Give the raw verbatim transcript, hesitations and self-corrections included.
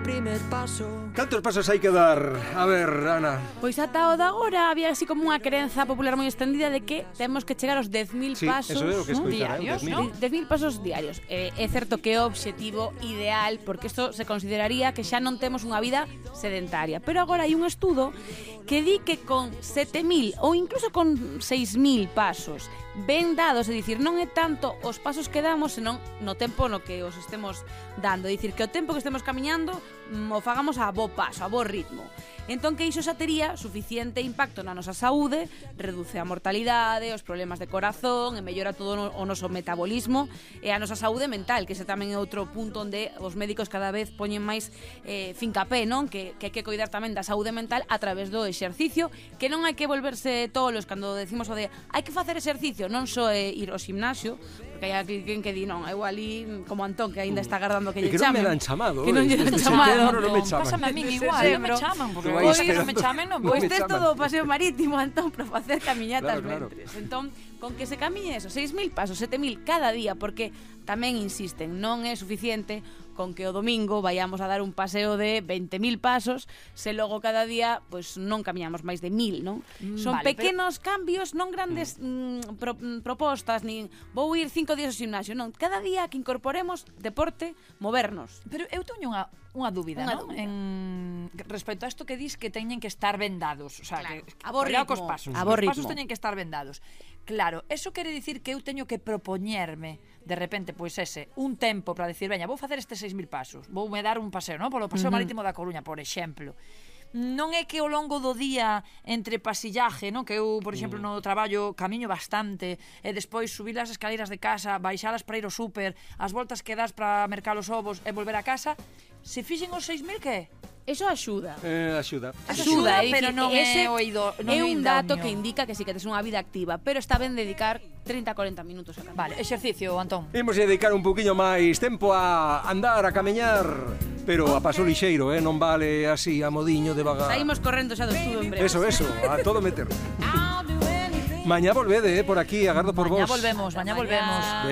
primer paso. Cantos pasos hai que dar? A ver, Ana. Pois ata o de agora había así como unha crenza popular moi extendida de que temos que chegar aos dez mil Sí, pasos, eso é o que ¿no? escoitara, diarios, dez mil. ¿no? dez mil pasos diarios. Eh, é certo que é o obxectivo ideal, porque isto se consideraría que xa non temos unha vida sedentaria. Pero agora hai un estudo que di que con sete mil ou incluso con seis mil pasos ben dados, é dicir, non é tanto os pasos que damos, senón no tempo no que os estemos dando, é dicir, que o tempo que estemos camiñando mm, o fagamos a bo paso, a bo ritmo. Entón que iso xa tería suficiente impacto na nosa saúde, reduce a mortalidade, os problemas de corazón e mellora todo o noso metabolismo e a nosa saúde mental, que ese tamén é outro punto onde os médicos cada vez poñen máis eh, fincapé, non? Que, que hai que coidar tamén da saúde mental a través do exercicio, que non hai que volverse tolos cando decimos o de hai que facer exercicio, non só é ir ao gimnasio, porque hai alguén que di non, eu ali como Antón que aínda está agardando que lle que chamen. non me dan chamado. Que non lle dan Desde chamado. setembro non me chaman. Pásame a min igual, non me chaman, porque Vai hoy esperando. non me chamen, non Pois me tes chaman. todo o paseo marítimo, Antón, para facer caminhatas Claro, claro. mentres. Entón, con que se camiñe eso, seis mil pasos, sete mil cada día, porque tamén insisten, non é suficiente con que o domingo vayamos a dar un paseo de veinte mil pasos, se logo cada día pois non camiñamos máis de mil, non? Mm, Son vale, pequenos pero... cambios, non grandes mm, pro, mm, propostas, nin vou ir cinco días ao gimnasio, non, cada día que incorporemos deporte, movernos. Pero eu teño unha, unha dúbida, Unha non? dúbida. En... Respecto a isto que dis que teñen que estar vendados, o sea, Claro. que, A bo cuidado ritmo. cos pasos, A bo os pasos ritmo. teñen que estar vendados. Claro, eso quere dicir que eu teño que propoñerme de repente, pois ese, un tempo para decir, veña, vou facer estes seis mil pasos, vou me dar un paseo, non? Polo paseo uh -huh. marítimo da Coruña, por exemplo. Non é que ao longo do día entre pasillaje, non? Que eu, por exemplo, no traballo camiño bastante e despois subir as escaleiras de casa, baixalas para ir ao súper, as voltas que das para mercar os ovos e volver a casa, se fixen os seis mil, que? Eso axuda. Eh, axuda. Axuda, é pero dicir, non ese é o ido, non é é un dato idóneo. que indica que sí que tes unha vida activa, pero está ben dedicar trinta a corenta minutos a camiñar. Vale, exercicio, Antón. Imos dedicar un poquinho máis tempo a andar, a camiñar, pero a paso lixeiro, eh? Non vale así, a modiño, devagar. Saímos correndo xa do estudo en breve. Eso, eso, a todo meter. Mañá volvede, eh, por aquí, agardo por Mañá vos. volvemos, mañá Mañá. volvemos.